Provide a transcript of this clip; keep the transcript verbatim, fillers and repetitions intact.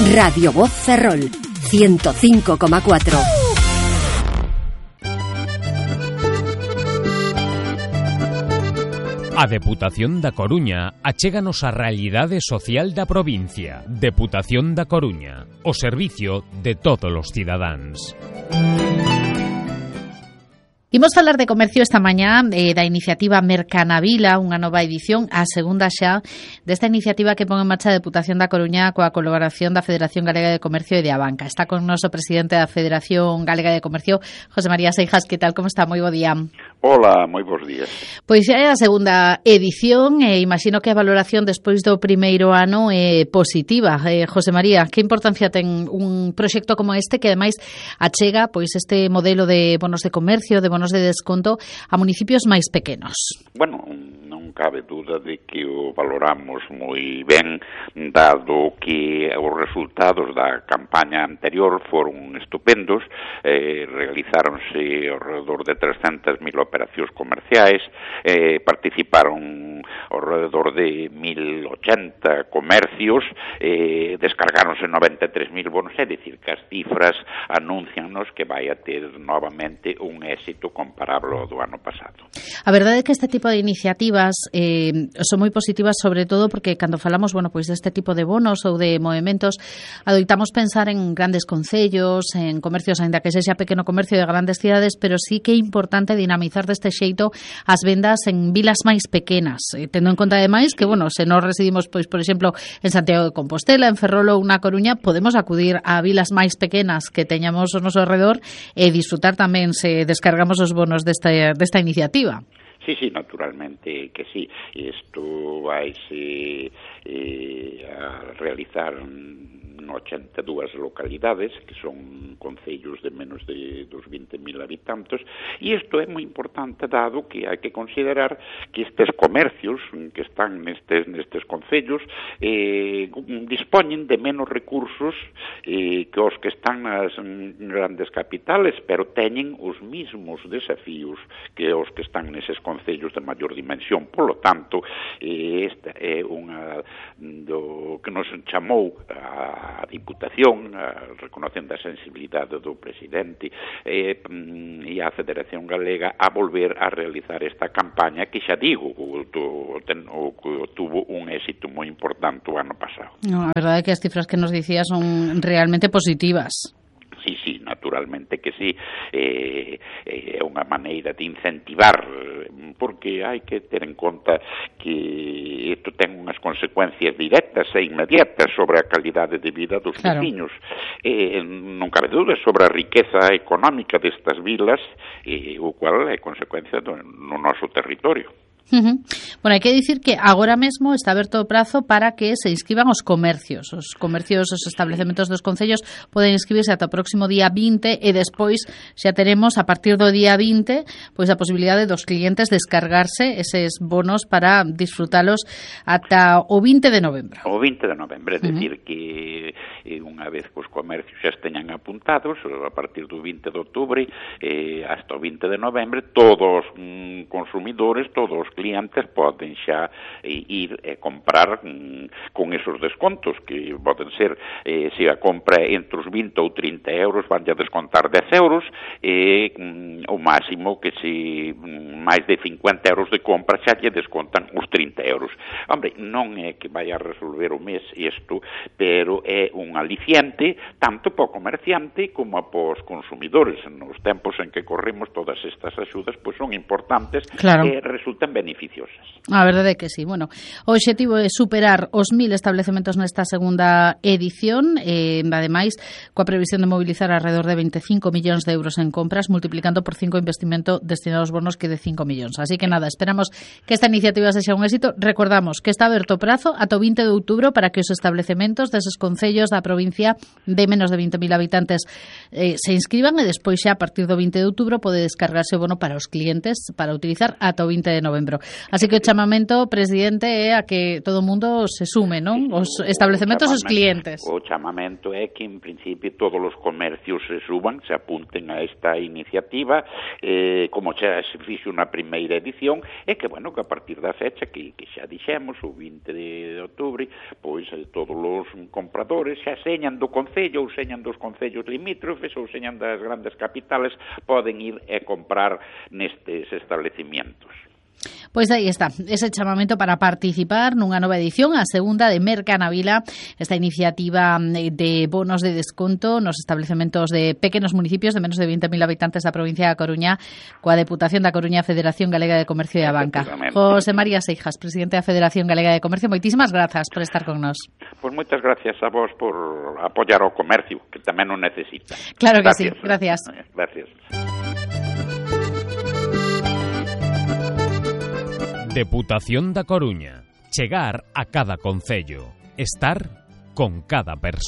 Radio Voz Ferrol, ciento cinco coma cuatro. A Deputación da Coruña achéganos a realidade social da provincia. Deputación da Coruña, o servicio de todos os cidadáns. Imos falar de comercio esta mañá eh, da iniciativa Mercanavila, unha nova edición, a segunda xa desta iniciativa que pon en marcha a Deputación da Coruña coa colaboración da Federación Galega de Comercio e de Abanca. Está con nos o presidente da Federación Galega de Comercio, José María Seijas. Que tal, como está? Moi bo día. Hola, moi bons días. Pois xa é a segunda edición e imagino que a valoración despois do primeiro ano é positiva. Eh, José María, que importancia ten un proxecto como este que ademais achega pois este modelo de bonos de comercio, de bonos de desconto a municipios máis pequenos? Bueno, non cabe duda de que o valoramos moi ben, dado que os resultados da campaña anterior foron estupendos. Eh, realizáronse alrededor de trescentas mil operacións comerciais, eh, participaron alrededor de mil ochenta comercios, eh, descargáronse noventa e tres mil bonos, é dicir, que as cifras anuncianos que vai a ter novamente un éxito comparable ao do ano pasado. A verdade é que este tipo de iniciativas eh, son moi positivas, sobre todo porque cando falamos, bueno, pois deste tipo de bonos ou de movementos, adoitamos pensar en grandes concellos, en comercios, aínda que sexa pequeno comercio de grandes cidades, pero sí que é importante dinamizar deste xeito as vendas en vilas máis pequenas, eh, tendo en conta ademais que, bueno, se nós residimos, pois, por exemplo, en Santiago de Compostela, en Ferrol ou na Coruña, podemos acudir a vilas máis pequenas que teñamos ao noso alrededor e disfrutar tamén se descargamos os bonos desta, desta iniciativa. Sí, sí, naturalmente que sí. Isto vaise eh, a realizar ochenta e dúas localidades, que son concellos de menos de dos vinte mil habitantes, e isto é moi importante dado que hai que considerar que estes comercios que están nestes, nestes concellos eh, dispoñen de menos recursos eh, que os que están nas grandes capitales, pero teñen os mismos desafíos que os que están neses concellos de maior dimensión. Por lo tanto, eh, esta é unha do que nos chamou a a Diputación, a, reconocendo a sensibilidade do presidente eh, e a Federación Galega a volver a realizar esta campaña que xa digo, o, o, o, o tuvo un éxito moi importante o ano pasado. No, a verdade é que as cifras que nos dicía son realmente positivas. Sí, sí, naturalmente que sí, é eh, eh, unha maneira de incentivar, porque hai que ter en conta que isto ten unhas consecuencias directas e inmediatas sobre a calidade de vida dos claro. veciños. Eh, non cabe dúda sobre a riqueza económica destas vilas, eh, o cual é consecuencia do, no noso territorio. Uh-huh. Bueno, hai que dicir que agora mesmo está aberto o prazo para que se inscriban os comercios. Os comercios, os establecementos dos concellos poden inscribirse ata o próximo día vinte e despois xa teremos a partir do día vinte pois a posibilidade dos clientes descargarse eses bonos para disfrutalos ata o vinte de novembro. O vinte de novembro, é dicir uh-huh. que eh, unha vez que os comercios xa esteñan apuntados, a partir do vinte de outubro eh, hasta o vinte de novembro, todos os mm, consumidores, todos os clientes poden xa eh, ir e eh, comprar mm, con esos descontos que poden ser, eh, se a compra entre os vinte ou trinta euros van a descontar dez euros e eh, mm, o máximo que se mm, máis de cincuenta euros de compra xa lle descontan os trinta euros. Hombre, non é que vai a resolver o mes isto, pero é un aliciente tanto para o comerciante como para os consumidores. Nos tempos en que corremos todas estas axudas pois son importantes claro. e resultan beneficiosas. A verdade é que sí. Bueno, o obxectivo é superar os mil establecementos nesta segunda edición, e ademais coa previsión de mobilizar alrededor de veinticinco millóns de euros en compras, multiplicando por cinco o investimento destinado aos bonos que de cinco millóns. Así que nada, esperamos que esta iniciativa sexa un éxito. Recordamos que está aberto o prazo ata o vinte de outubro para que os establecementos deses concellos da provincia de menos de vinte mil habitantes eh, se inscriban e despois xa a partir do vinte de outubro pode descargarse o bono para os clientes para utilizar ata o vinte de novembro. Así que o chamamento, presidente, é a que todo o mundo se sume, non? Os establecementos e os clientes. O chamamento é que, en principio, todos os comercios se suban, se apunten a esta iniciativa, eh, como xa se fixo na primeira edición, e que, bueno, que a partir da fecha que, que xa dixemos, o vinte de outubro, pois eh, todos os compradores xa señan do concello ou señan dos concellos limítrofes ou señan das grandes capitales, poden ir e comprar nestes establecimientos. Pois aí está, ese chamamento para participar nunha nova edición, a segunda de Mercanavila, esta iniciativa de bonos de desconto nos establecementos de pequenos municipios de menos de vinte mil habitantes da provincia da Coruña, coa Deputación da Coruña, Federación Galega de Comercio e a Banca. José María Seijas, presidente da Federación Galega de Comercio, moitísimas grazas por estar con nós. Pois moitas gracias a vos por apoiar o comercio, que tamén o necesita. Claro que gracias. sí, gracias. Gracias. Deputación da Coruña. Chegar a cada concello. Estar con cada persoa.